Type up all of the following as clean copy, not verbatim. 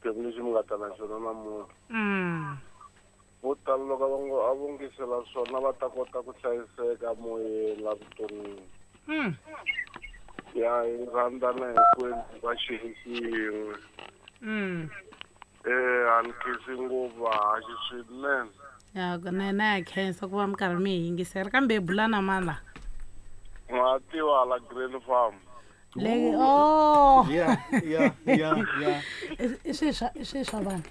xiphemu lexi mi nga ta na xona namuntlha. Vo tala loko va ngo a vo ngisela swona va ta kota ku hlayiseka moyeni la vuton'wini. Ya hi rhandzana hinkwenu va xilo xin'we. A ni khensi ngopfu vahaxi swinene. Ya na ya khensa ku va mi karhi mi hi yingisela kambe hi bula na mani la? Ma tiva hala Green Farm. Le oh. Yeah, yeah, yeah, yeah. I swi swa i swi swa vanhu.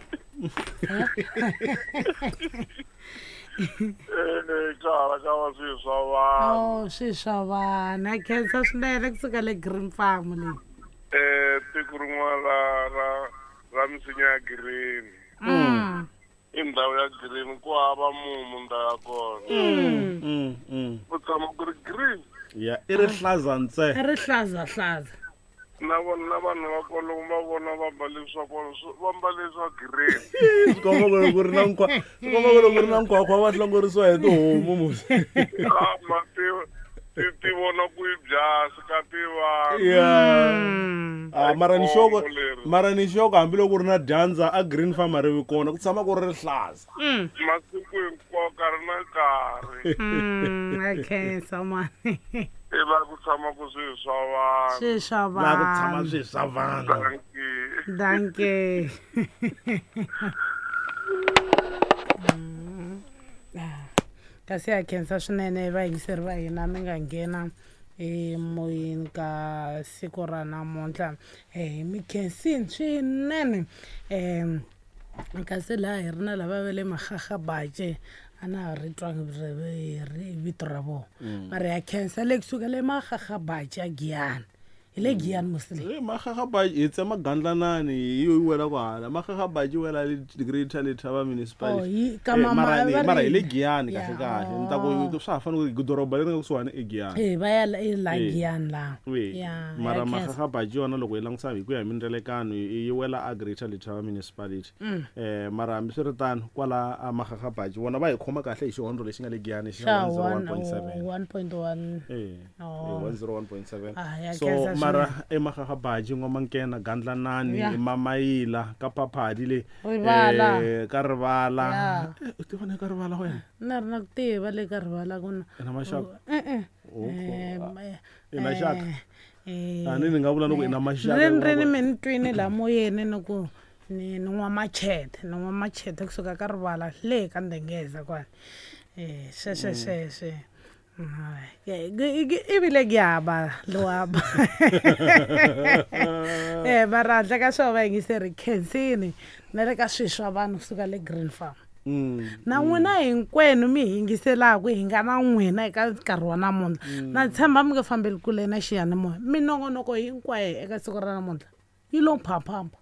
Eh, ka hala ka va swi swa vanhu. Oh, swi swa vanhu. A khensa swinene kusuka le Green Farm leyi. Eh, tiko rin'wana ra ra ra misinya ya green. I ndhawu ya green ku hava mumu ndhawu ya kona. Ku tshama ku ri green. Ya, i rihlaza ntse. I rihlaza hlaza. Na vona na vanhu va kwalomu va vona va mbale swa kona va mbale swa green. Swi komba ku loko ku ri na nkwa swi komba ku loko ku ri na nkhwakhwa va hlongorisiwa hi tihomu musi. Ah, ma ti ti ti vona ku yi byasi ka ti vanhu. Yeah. Ah, mara ni xoko Khombo leri. mara ni xoko hambiloko ku ri na dyandza a green farm a ri vi kona ku tshama ku ri rihlaza. Masiku hinkwawo nkarhi na nkarhi. A khensa mani. I la ku tshama ku swi swa vanhu. Swi swa La ku tshama vanhu. swi swa vanhu. Dankie. Dankie. Kasi ya khensa swinene vayingiseri va hina mi nga nghena emoyeni ka siku ra namuntlha. Mi khensini swinene. Kasi laha hi ri na lava va le Magagabache a na ha ri twangi vito ra vona. Mara ya khensa le kusuka le Magagabache a Giyani. Hi le Giyani mos le. Eh, Magagabache hi tsema Gandlanani hi yo yi wela kwahala. Magagabache yi wela le Greater Letaba Municipality. Oh, yi ka Eh, mama mara ni va mara ri hi le Giyani Ya, kahle kahle. Ni ta ku oh. swa ha fanele ku doroba leri nga kusuhani i Giyani. Eh, va ya la i la Eh. Giyani laha. Eh, Ya, mara ya khensa. Magagabache yona loko hi langutisa hi ku ya hi mindzelekano yi wela a Greater Letaba Municipality. Mara hambiswiritano kwala a Magagabache vona va hi khoma kahle hi xihondzo lexi nga le Giyani xa Xa 101.7. 1.1. Eh, Oh. 101.7. Ah, ya So khensa mara swinene. eMagagabache N'wamankena Gandlanani Ya. Mamayila ka Phaphadi le Rivala. ka Rivala. Ya. Eh, u tiva na ka Rivala wena? Na ri na ku tiva le ka Rivala ku na. I na maxaka? E-e. Oh, Eh, ah, i na xaka? eh, A ni ni nga vula ni ku i na maxaka. Rini rini mi ni twini laha moyeni ni ku ni ni n'wa machete, ni n'wa machete kusuka ka Rivala le ka Ndengeza kwale. Eh, sweswe sweswe. Ivile kuyaba lowaba. Eh, mara handle ka swona vayingiseri khensini na le ka swilo swa vanhu kusuka le Green Farm. Na n'wina hinkwenu mi hi yingiselaku hi nga na n'wina eka nkarhi wa namuntlha. Na tshemba mi nge fambeli kule na xiyanimoya. Minongonoko hinkwayo eka siku ra namuntlha yi lo phaphapha.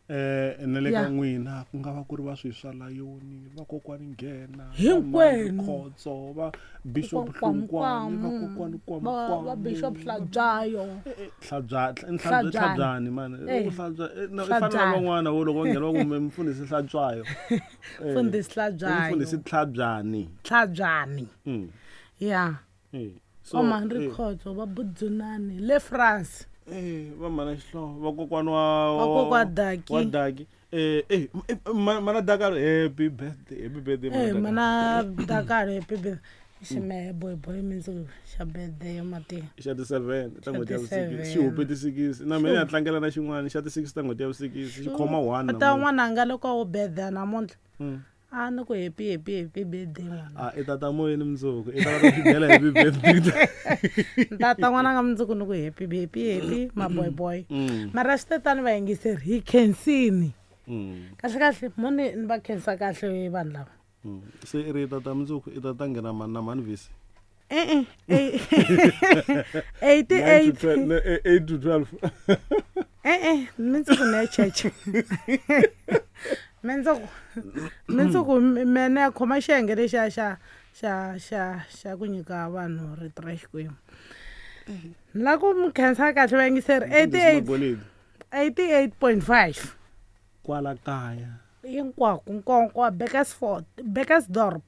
Eh, na le ka Ya. n'wina ku nga va ku ri va swi swa Layoni, vakokwani Nghena, Hinkwenu. va Khotso, va Bishop Kwam, Hlungwani, kwam. vakokwani Va va Kwam. Bishop Hlatshwayo. Hlatshwa, Hlatshwani mani. Eh. U Hlatshwa, eh, na i fana na Hlatshwani. van'wana vo loko va nghena va ku mfundhisi Hlatshwayo. Eh, Mfundhisi Hlatshwayo. Mfundhisi Tlhabyani. Tlhabyani. Ya. Eh, so, Va Mhandri eh. Khotso, va Budzunani le France. Eh, va mhana Xihlovo, vakokwana wa Vakokwa Daki. Wa Daki. Eh, eh, mana Dakalo, happy birthday, happy birthday Eh, mana mana Dakalo happy birthday. Ximehe boy boy mindzuku xa birthday ya mati. Xa ti 7 ta n'hweti ya Xa ti vusikisi. Xi 7. hupe ti 6. Na mina ni ya tlangela na xin'wana xa ti 6 ta n'hweti ya vusikisi. Xi khoma 1 Ta namuntlha. n'wananga loko a wo birthday namuntlha. A ni ku happy happy happy birthday n'wana. Ah, i tata moyeni mundzuku. I ta va xi bela happy birthday. Tata n'wananga mundzuku ni ku happy happy happy my boy boy. Mara swi te tani vayingiseri hi khensini. Kahle kahle mo ni ni va khensa kahle vanhu lava. Se i ri tata mundzuku i tata nghena mani na mani vhisi. E-e. 88. 8 to 12. E-e, mindzuku ni ya cheche. Mindzuku mindzuku me ni ya khoma xiyenge lexiya xa xa xa xa ku nyika vanhu rito ra Xikwembu. Ni la ku mi khensa kahle vayingiseri 88 88.5. Kwala kaya. Hinkwako nkonko Bekkersford, Bekkersdorp.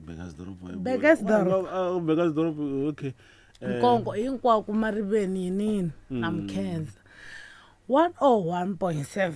Bekkersdorp. Bekkersdorp. Bekkersdorp, okay. Nkonko hinkwako mariveni yinini na mi khensa. 101.7.